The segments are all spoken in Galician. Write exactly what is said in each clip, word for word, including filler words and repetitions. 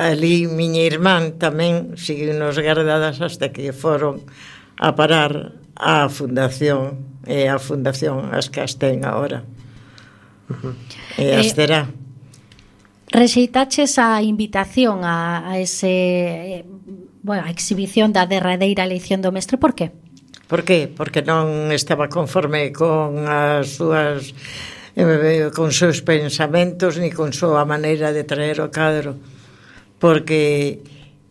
ali miña irmán tamén seguiu-nos guardadas hasta que foron a parar á fundación, e a fundación as que as ten agora. Uh-huh. E as terá. Eh, Rexeitaches a invitación a, a ese, bueno, a exhibición da derradeira eleición do mestre, por qué? Por qué? Porque non estaba conforme con as súas eh, con seus pensamentos ni con súa maneira de traer o cadro, porque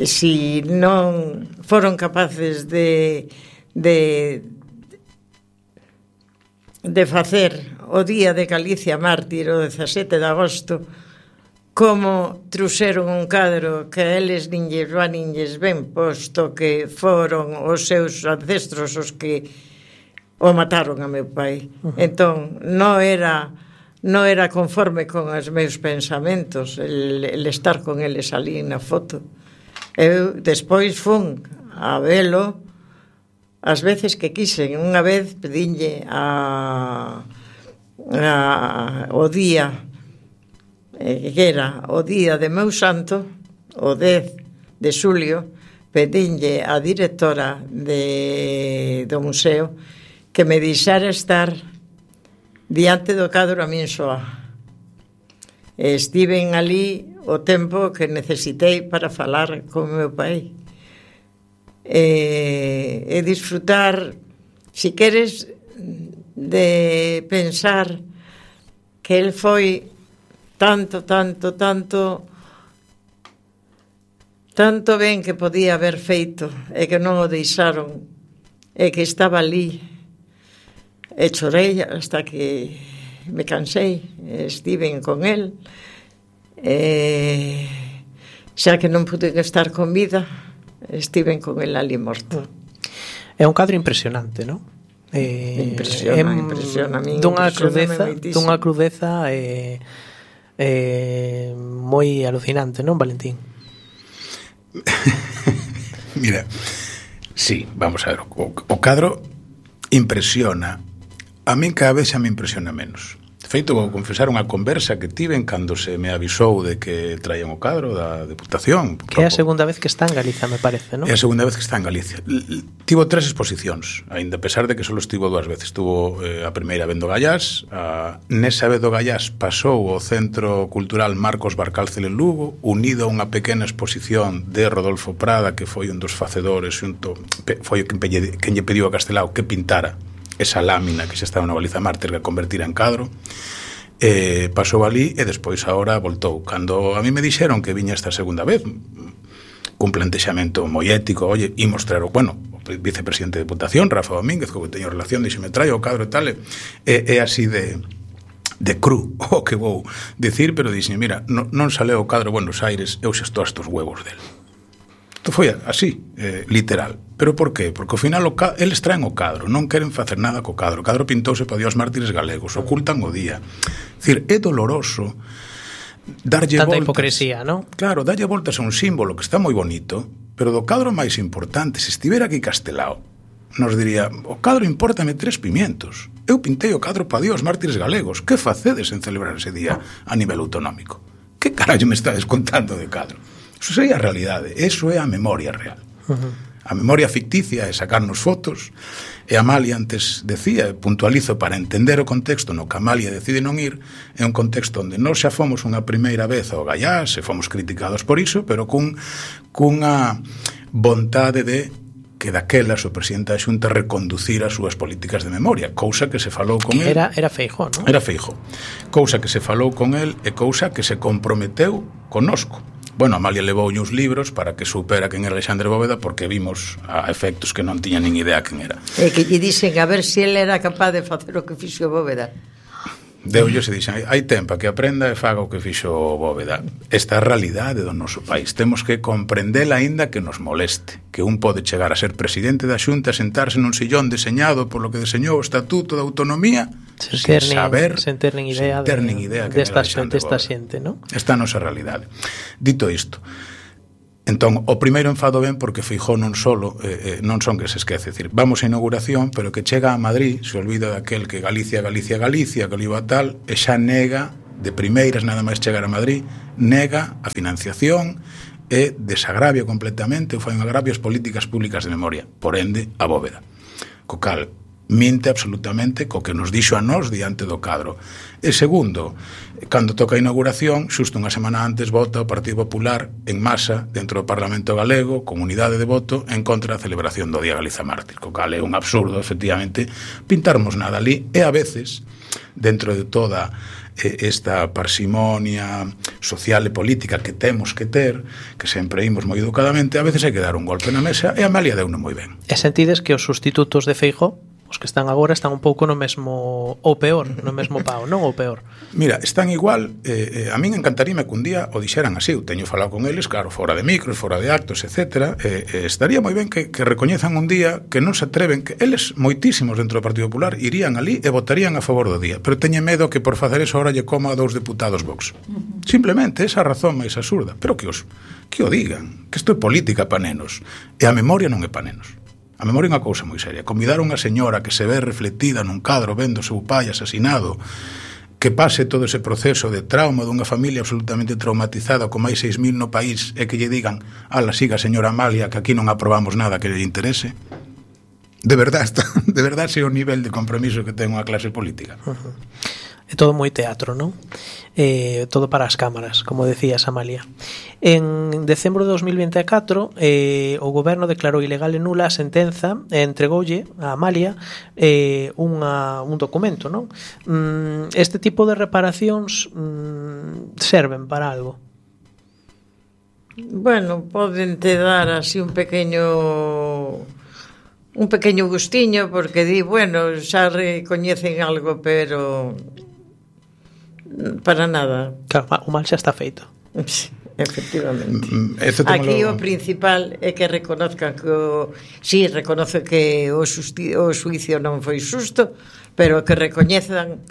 si non foron capaces de de de facer o Día de Galicia Mártir o dezasete de agosto, como truxeron un cadro que a eles nin lles va nin lles ben, posto que foron os seus ancestros os que o mataron a meu pai. Uh-huh. Entón, non era non era conforme con os meus pensamentos el, el estar con eles ali na foto. Eu despois fun a velo as veces que quixen. Unha vez pedinlle a, a o día que era o día de meu santo, o dez de xulio, pedinlle a directora de, do museo que me deixara estar diante do cadro a min soa. Estiven ali o tempo que necesitei para falar con meu pai e, e disfrutar, si queres, de pensar que el foi tanto, tanto, tanto tanto ben que podía haber feito e que non o deixaron e que estaba ali e chorei hasta que me cansei, estiven con el e xa que non pude estar con vida, estiven con el ali morto. É un cadro impresionante, non? Eh, impresiona, em, impresiona a min, dunha crudeza, dunha crudeza eh, eh, moi alucinante, non, Valentín? Mira, sí, vamos a ver, o, o cadro impresiona. A min cada vez xa me impresiona menos. De feito, vou confesar unha conversa que tiven cando se me avisou de que traían o cadro da Deputación. Que é a segunda vez que está en Galicia, me parece, non? É a segunda vez que está en Galicia. Tivo tres exposicións, aínda a pesar de que só estivo dúas veces. Tuvo eh, a primeira vez do Gallás, a, nesa vez do Gallás pasou ao Centro Cultural Marcos Barcálcel en Lugo, unido a unha pequena exposición de Rodolfo Prada, que foi un dos facedores, xunto, foi quen lle pediu a Castelao que pintara esa lámina que xa estaba na Baliza Mártir que convertira en cadro. Eh, pasou ali e despois agora voltou. Cando a mí me dixeron que viña esta segunda vez cun plantexamento moi ético, oye, imos traer o, bueno, o vicepresidente de Deputación, Rafa Domínguez, co que teño relación, dixeme, trae o cadro e tal, e é así de de cru o que vou dicir, pero dixeme, mira, non, non saleu o cadro Buenos Aires, eu xa estou a estos huevos del. Isto foi así, eh, literal. Pero por qué? Porque ao final o ca- eles traen o cadro, non queren facer nada co cadro. O cadro pintouse para Dios mártires galegos, ocultan o día. É dicir, é doloroso darlle tanta voltas. Hipocresía, non? Claro, darlle voltas a un símbolo que está moi bonito, pero do cadro máis importante, se estivera aquí Castelao, nos diría, o cadro importame tres pimientos. Eu pintei o cadro para Dios mártires galegos. Que facedes en celebrar ese día a nivel autonómico? Que carallo me estades contando de cadro? Eso sería a realidade, eso é a memoria real. Uh-huh. A memoria ficticia é sacarnos fotos, e Amalia antes decía, puntualizo, para entender o contexto no que Amalia decide non ir, é un contexto onde nós xa fomos unha primeira vez ao Gallás e fomos criticados por iso, pero cun, cunha vontade de que daquelas o presidente da Xunta reconducir as súas políticas de memoria, cousa que se falou con que el. Era, era Feijóo, non? Era Feijóo. Cousa que se falou con el e cousa que se comprometeu connosco. Bueno, Amalia levou uns libros para que supera quen era Alexandre Bóveda, porque vimos a efectos que non tiña nin idea quen era. E que lle dixen a ver se ele era capaz de facer o que fixo Bóveda. Deulle se dixen, hai tempo que aprenda e faga o que fixo Bóveda. Esta é a realidade do noso país. Temos que comprendela aínda que nos moleste. Que un pode chegar a ser presidente da Xunta e sentarse nun sillón deseñado por lo que deseñou o Estatuto da Autonomía sen sin ter nin, saber, sen ter nin idea, sen ter nin idea de, desta xente, esta xente, non? Esta é a nosa realidade. Dito isto, entón, o primeiro enfado ben porque Feijóo non solo, eh, eh, non son que se esquece, decir, vamos a inauguración, pero que chega a Madrid, se olvida daquel que Galicia, Galicia, Galicia, que iba tal, e xa nega, de primeiras nada máis chegar a Madrid, nega a financiación e desagravia completamente ou fai un agravio ás políticas públicas de memoria, por ende, a Bóveda. Co cal, minte absolutamente co que nos dixo a nós diante do cadro. E segundo, cando toca a inauguración, xusto unha semana antes vota o Partido Popular en masa dentro do Parlamento Galego, comunidade de voto, en contra da celebración do Día Galiza Mártir, co cal é un absurdo, efectivamente, pintarmos nada ali, e a veces, dentro de toda esta parsimonia social e política que temos que ter, que sempre imos moi educadamente, a veces hai que dar un golpe na mesa, e a Amalia deuno moi ben. E sentides que os sustitutos de Feijóo, os que están agora, están un pouco no mesmo, ou peor, no mesmo pao, non ou peor? Mira, están igual, eh, eh, a min encantaríame que un día o dixeran así, eu teño falado con eles, claro, fora de micros, fora de actos, etcétera, eh, eh, estaría moi ben que, que recoñezan un día que non se atreven, que eles, moitísimos dentro do Partido Popular, irían ali e votarían a favor do día, pero teñen medo que por facer eso ahora lle coma a dous deputados Vox. Simplemente, esa razón máis absurda, pero que os que o digan, que isto é política pa nenos, e a memoria non é pa nenos. A memoria é unha cousa moi seria. Convidar a unha señora que se ve reflectida nun cadro vendo o seu pai asesinado, que pase todo ese proceso de trauma dunha familia absolutamente traumatizada con máis seis mil no país e que lle digan, ala, siga señora Amalia, que aquí non aprobamos nada que lle interese. De verdade, de verdade ese é o nivel de compromiso que ten unha clase política. Uh-huh. É todo moi teatro, non? Eh, todo para as cámaras, como decías, Amalia. En decembro de dos mil vinte e catro, eh, o goberno declarou ilegal e nula a sentenza e entregoulle a Amalia eh, unha, un documento, non? Mm, este tipo de reparacións mm, serven para algo? Bueno, poden te dar así un pequeño... un pequeño gustiño, porque di, bueno, xa recoñecen algo, pero para nada. Claro, o mal xa está feito. Sí, efectivamente. Aquí lo... o principal é que reconozcan que o... sí, reconoce que o, xusti... o xuicio non foi xusto, pero que recoñezan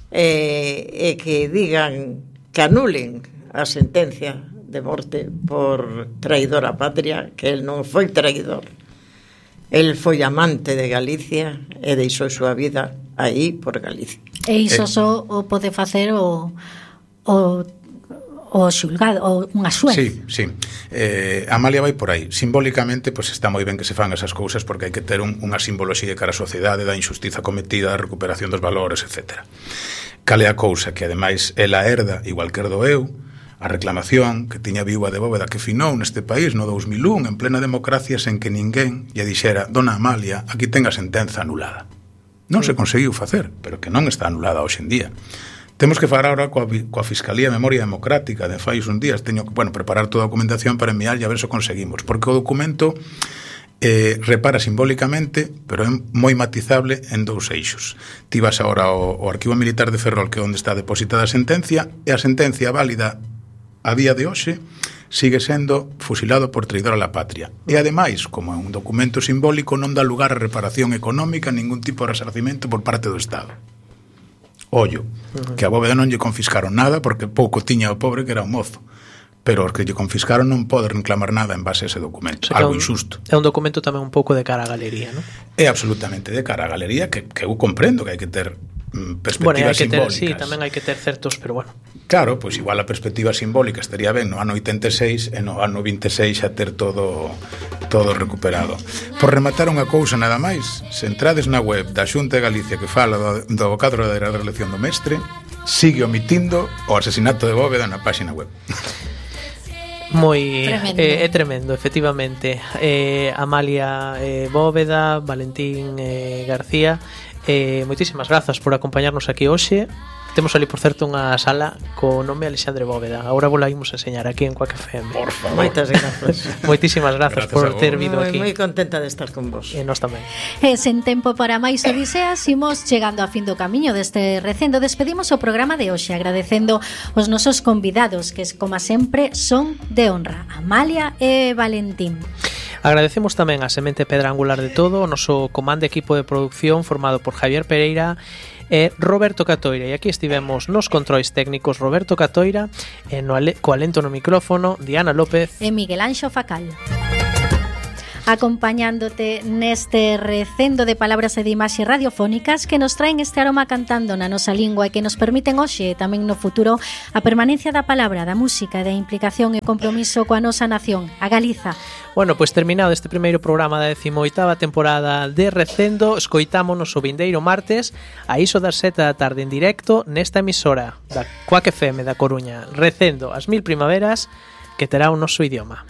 eh, e que digan, que anulen a sentencia de morte por traidor á patria, que el non foi traidor. El foi amante de Galicia e deixou a súa vida aí por Galicia. E iso só o pode facer o, o, o xulgado, o unha xuez. Sí, sí. Eh, Amalia vai por aí. Simbólicamente, pues está moi ben que se fan esas cousas, porque hai que ter un, unha simboloxía cara á sociedade da injustiza cometida, da recuperación dos valores, etcétera. Cale a cousa que, ademais, ela herda, igual que herdo eu, a reclamación que tiña viúva de Bóveda que finou neste país no dous mil un, en plena democracia, sen que ninguén lle dixera, dona Amalia, aquí ten a sentenza anulada. Non se conseguiu facer, pero que non está anulada hoxe en día. Temos que falar agora coa, coa Fiscalía de Memoria Democrática de fai uns días. Teño que, bueno, preparar toda a documentación para enviar e a ver se conseguimos, porque o documento eh, repara simbólicamente, pero é moi matizable en dous eixos. Ti vas agora ao, ao Arquivo Militar de Ferrol, que é onde está depositada a sentencia, e a sentencia válida a día de hoxe sigue sendo fusilado por traidor a la patria. E ademais, como é un documento simbólico, non dá lugar a reparación económica, ningún tipo de resarcimento por parte do Estado. Ollo, uh-huh. que a Bóveda non lle confiscaron nada porque pouco tiña o pobre que era un mozo. Pero os que lle confiscaron non pode reclamar nada en base a ese documento. O sea, algo un, injusto. É un documento tamén un pouco de cara á galería, non? É absolutamente de cara á galería, que, que eu comprendo que hai que ter mm, perspectivas bueno, hai que ter, simbólicas. Sí, tamén hai que ter certos, pero bueno. Claro, pois igual a perspectiva simbólica estaría ben no ano oitenta e seis e no ano vinte e seis a ter todo todo recuperado. Por rematar unha cousa nada máis, se entrades na web da Xunta de Galicia que fala do, do cadro da reelección do mestre, sigue omitindo o asesinato de Bóveda na páxina web. Moi é eh, tremendo, efectivamente. Eh, Amalia eh, Bóveda, Valentín eh, García, eh, moitísimas grazas por acompañarnos aquí hoxe. Temos ali, por certo, unha sala co nome Alexandre Bóveda. Agora vos la imos a enseñar aquí en Quack F M. Por favor. Moitas grazas. Moitísimas grazas, grazas por ter vindo moi, aquí. Moi contenta de estar con vos. E nós tamén. E sen tempo para máis odiseas, imos chegando a fin do camiño deste recendo. Despedimos o programa de hoxe agradecendo os nosos convidados, que, como sempre, son de honra, Amalia e Valentín. Agradecemos tamén a semente pedra angular de todo, o noso comando equipo de producción formado por Javier Pereira e Roberto Catoira. E aquí estivemos nos controis técnicos Roberto Catoira e no ale, co alento no micrófono Diana López e Miguel Anxo Facal. acompañándote neste recendo de palabras e de imaxes radiofónicas que nos traen este aroma cantando na nosa lingua e que nos permiten hoxe e tamén no futuro a permanencia da palabra, da música e da implicación e compromiso coa nosa nación, a Galiza. Bueno, pois terminado este primeiro programa da decimoitava temporada de Recendo, escoitámonos o vindeiro martes a iso das sete da tarde en directo nesta emisora da Cuac F M da Coruña, Recendo as mil primaveras que terá o noso idioma.